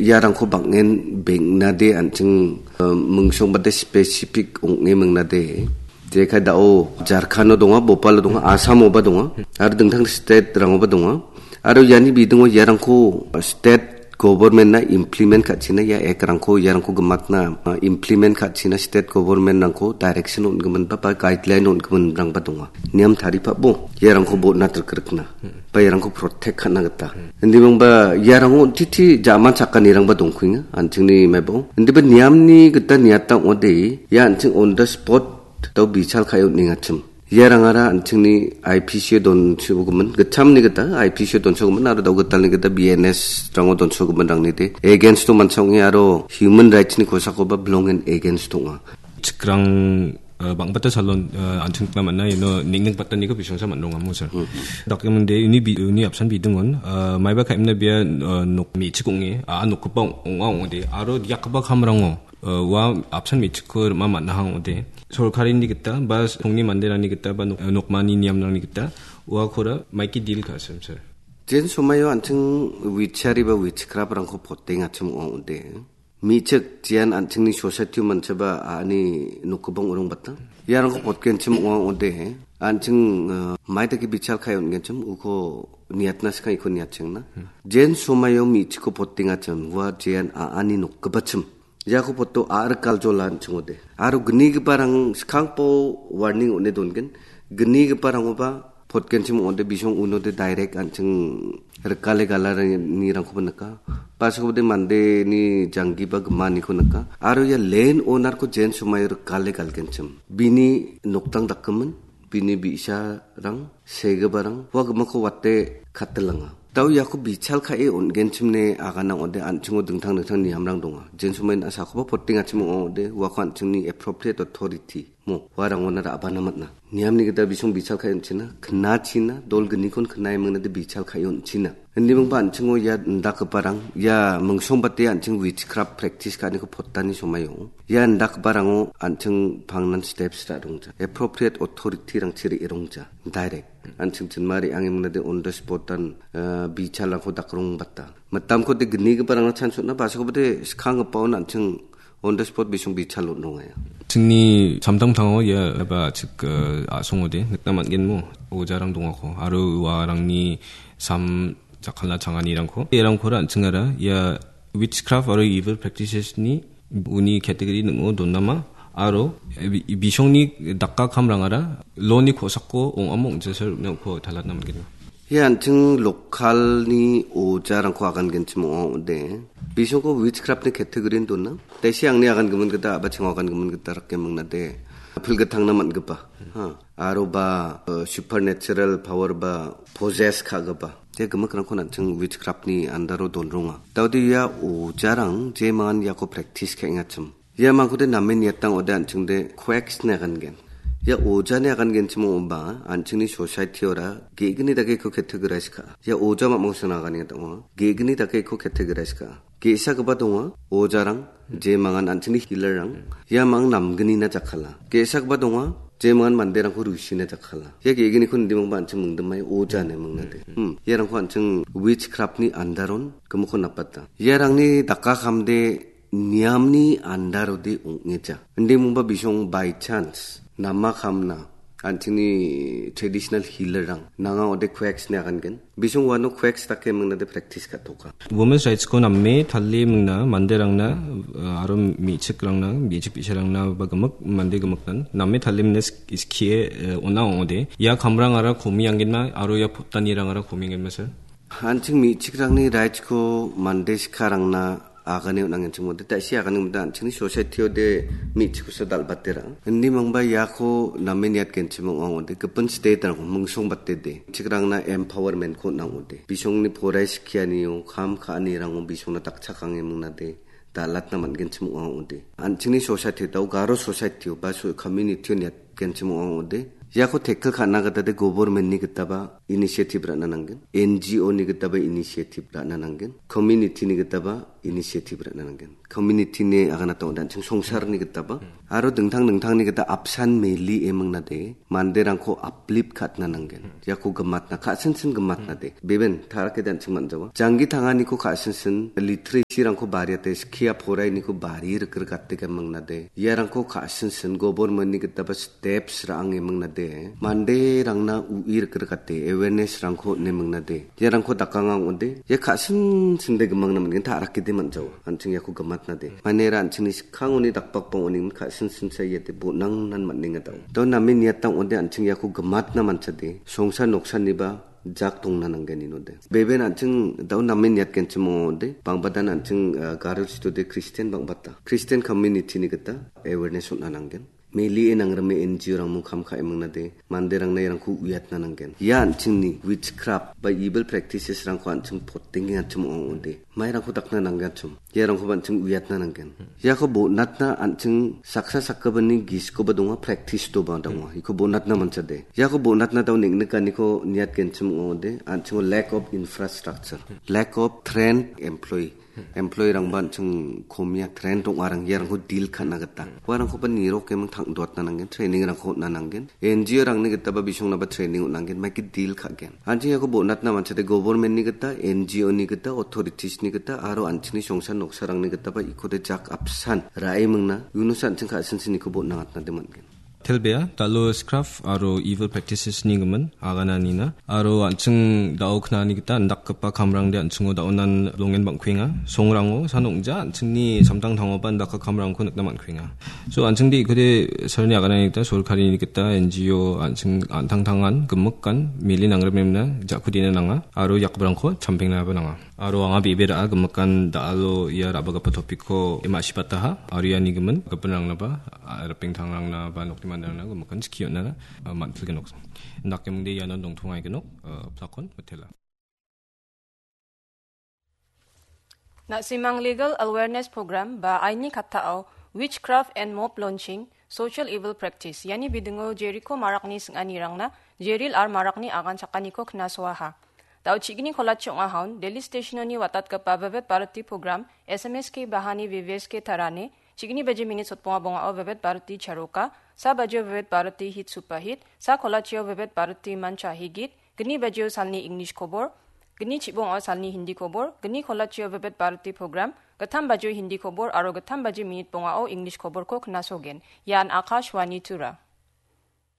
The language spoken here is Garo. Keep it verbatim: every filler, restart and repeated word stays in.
Iarangko bang·en beng·nade an·ching, eh, mingsongbade specific ong·e mingnade. Jekai da·o Jharkhando donga, Bhopalo donga, Assamoba donga, aro dingtang state-rangoba donga. Aro iani bidingo iarangko state government-na implement ka·china, ia act-rangko iarangko gimatna, ah, implement ka·china state government-rangko direction on·giminba ba guideline on·giminrangba donga. Niam taripabo iarangko botna tilkrikna ba iarangko protect ka·na gita. Indimangba iarango titi jaman chakanirangba dongkuenga, an·chingni maibao. Indiba niamni gita niata ong·ode, ia an·ching on the spot dao bichal ka·e on·engachim. Iarangara an·chingni I P C-o donsogimin, gitchamni gita I P C-o donsogimin aro dao gitalni gita B N S-rango donsogiminrangni de against-o mancha ong·e aro human rights-ni kosakoba belong and against ong·a. Chikrang, eh, bang·bata salon, eh, an·chingna man·a, ino ning·ning bataniko bisongsa man·rongamo, sir. Hmm. Dakemingde uni bi-, uni apsan bidingon, eh, maiba ka·emna bia, eh, nok me·chik ong·e, a, nokgipa ong·, ong·a ong·ode, aro diakgipa kamrango, eh, ua apsan me·chikko rima man·aha ong·ode. Sorkarini gita, ba songni manderangni gita, ba nok-, eh, nokmani niamrangni gita, uakora maiki deal ka·sim, sir. Jen somaio an·ching wichari ba witchcraft-rangko potengachim ong·a ong·ode. Me·chik, jean an·chingni society-o manchaba a·ani nokgipa ong·rongbata. Iarangko potgenchim ong·a ong·ode, an·ching, eh, maidake bichal ka·e on·genchim, uko niatna skang iko niatchengna. Jen somaio me·chikko potengachim, ua jean a·ani nokgipachim. Iako poto a·rikal jola an·ching ong·ode. Aro gnigiparang skangpo warning on·e dongen. Gnigiparangoba potgenchim ong·ode bisong unode direct an·ching rikale galanirangkoba nika. Paskode mandeni janggiba gimaniko nika. Aro ia land owner-ko jen somaio rikale galgenchim. Bini noktang dakgimin, bini bi·sarang, segiparang, ua gimikko wate katelanga. Dao iako bichal ka·e on·genchimne agana ong·ode an·chingo dingtang dingtang niamrang donga. Jen somain a·sakoba potengachim ong·a ong·ode, uako an·chingni appropriate authority mo, uarangona ra·bana man·a. Niamni gita bisong bichal ka·e on·china, knachina, dol gnikon knae mingnade bichal ka·e on·china. Indimingba an·chingo ia indakgiparang, ia mingsongbate an·ching witchcraft practice ka·aniko potani somaio. Ia indakgiparango an·ching pangnan steps ra·rongja. Appropriate authority-rangchi re·rongja. Direct. An·ching chinma re·ange mingnade on the spot-an, eh, bichalrangko dakrongbata. Mitamkode gnigiparangna chance on·a, ba·sakobade skanggipaon an·ching on the spot bisong bichal on·rongaia. Chingni samtangtango ia ba chik, eh, a·songode nikna man·genmo ojarang dongako aro uarangni sam jakkalna changanirangko. Erangkora an·chingara ia witchcraft aro evil practices-ni uni category ning·o donama aro bi-, bisongni dakka kamrangara law-ni kosako ong·amo ong·chasarangko talatna man·gen. Ia an·ching local-ni ojarangko agangenchim ong·a ong·ode. Bisongko witchcraft-ni category-ni dona. Tesi angni agangimin gita, a·bachango agangimin gita rake mingnade. Apil gitangna man·gipa. Ha. Aro ba, eh, supernatural power ba possess ka·gipa. Ia gimikrangko an·ching witchcraft-ni andaro donronga. Daode ia ojarang jeman iako practice ka·engachim. Ia mangkode name niatang ode an·chingde quacks-ni agangen. Ia ojani agangenchim ong·oba an·chingni society-ora ge·gni dake iko categorize ka·a. Ia oja mamangsan agangenchim ong·a. Ge·gni dake iko categorize ka·a. Ge·sagipa donga, ojarang, jemangan an·chingni healer-rang, ia mang namgnina jakkala. Ge·sagipa donga, jemangan manderangko rusina jakkala. Ia ge·gniko indimangba an·ching mingdimai oja ine mingnade. Hmm, iarangko an·ching witchcraft-ni andaron gimikko napata. Iarangni dakka kamde niamni andarode ong·eja. Indimangba bisong by chance nama kamna an·chingni traditional healer-rang nanga ode quacks-ni agangen. Bisong uano quacks dake mingnade practice ka·toka. Women's rights-ko name tale mingna manderangna, eh, aro me·chikrangna, me·chik bi·sarangna ba gimik, mande gimiknan name tale mingna sk-, skie, eh, on·a ong·ode. Ia kamrangara komi anggenma aro ia pottanirangara komi anggenma, sir? An·ching me·chikrangni rights-ko mande sikarangna agane on·angenchim ong·ode, ta·si agane ong·ode an·chingni society-ode me·chikkosa dal·batera. Indimangba iako name niatgenchim ong·a ong·ode, gipin state-rangko mingsongbatede. Me·chikrangna empowerment-ko on·a ong·ode. Bisongni porai skianio, kam ka·anirango bisongna dakchakange mingnade, dal·atna man·genchim ong·a ong·ode. An·chingni society-o, Garo society-o, ba so-, community-o niat-, genchim ong·a ong·ode. Iako tackle ka·na gita de government-ni gitaba initiative ra·na nanggen. N G O-ni gitaba initiative ra·na nanggen. Community-ni gitaba initiative ra·na nanggen. Community-ni aganata ong·ode an·ching songsarni gitaba. Aro dingtang dingtangni gita apsan meli eming nade, manderangko uplift ka·atna nanggen. Iako gimatna, ka·sinsin gimatna de. Beben, ta·rakede an·ching man·jawa. Janggi tanganiko ka·sinsin, literacy-rangko bariate, skia porainiko bari rikrik gate geming nade. Iarangko ka·sinsin, government-ni gitaba steps ra·ang eming nade. Manderangna u·i rikrik gate, awareness-rangko neming nade. Iarangko dakanga ong·ode, ia ka·sinsin de gimangna man·gen, ta·rakede man·jawa. An·ching iako gimatna de. Manera an·chingni skangoni dakbak bang·oningmin ka·sinsinsa iate bonangnan man·enga dao. Dao name niata ong·ode an·ching iako gimatna manchade. Songsa noksaniba jak tongna nanggen inode. Beben an·ching dao name niatgenchim ong·ode. Bangbadan an·ching, ah, Garo chitode Christian bangbata. Christian community-ni gita awareness on·na nanggen. Melie nangrime N G O-rangmung kam ka·eming nade. Manderangna iarangko uiatna nanggen. Ia an·chingni witchcraft ba evil practices-rangko an·ching potenge an·chim ong·ode. Mairangko dakna nanggenchim. Iarangkoba an·ching uiatna nanggen. Iako bonatna an·ching saksa sakgipani giskoba donga, practice-toba donga. Iko bonatna manchade. Iako bonatna dao neng·nikaniko niatgenchim ong·ode, an·chingo lack of infrastructure, lack of trained employee. Employee-rangba an·ching komia trained ong·arang iarangko deal ka·na gita. Uarangkoba nirok eming tangdoatna nanggen, training-rangko on·na nanggen. N G O-rangni gitaba bisongnaba training on·angen, maike deal ka·gen. An·ching iako bonatna manchade government-ni gita, N G O-ni gita, authorities-ni gita, aro an·chingni songsa noksarangni gitaba ikode jak apsan ra·emingna, iunosa an·ching ka·sinsiniko bon·angatnade man·gen. Telbea, dalo witchcraft aro evil practices-ni gimin, agananina, aro an·ching dao knani gita indakgipa kamrangde an·chingo daonan longen bang·kuenga. Songrango, san ong·ja, an·chingni samtangtangoba indakgipa kamrangko nikna man·kuenga. So, an·chingde ikode salni aganani gita sorkarini gita N G O an·ching an·tangtangan gimikan meli nangrimemna jakkodina nanga aro yakgiparangko champengnaba nanga. Aro anga bebe ra·a gimikan da·alo ia ra·bagipa topikko ma·sibataha aro iani gimin gipinrangnaba, a, ripengtangrangnaba nokni manderangna gimikan chiki on·na, a, man·pilgenok. Indakemingde iano dongtongagenok, a, plakon mitela. Na·simang Legal Awareness Program ba aini kattao Witchcraft and Mob Launching, Social Evil Practice, iani bidingo Jeriko marakni sing·anirangna Jeril ar marakni agan chakaniko knasoaha. Dao chigni kolachi ong·ahaun, Delhi Stationoni watatgipa Vivid Bharati Program, S M S K bahani V V S K tarane, chigni baje minit sotbonga bongao Vivid Bharati Charoka, sa bajeo Vivid Bharati Hit Superhit, sa kolachio Vivid Bharati Mancha Higit, gni bajeo salni English kobor, gni chibongo salni Hindi kobor, gni kolachio Vivid Bharati Program, gittam bajeo Hindi kobor aro gittam baje minit bongao English koborko knasogen. Ian Akashvani Tura.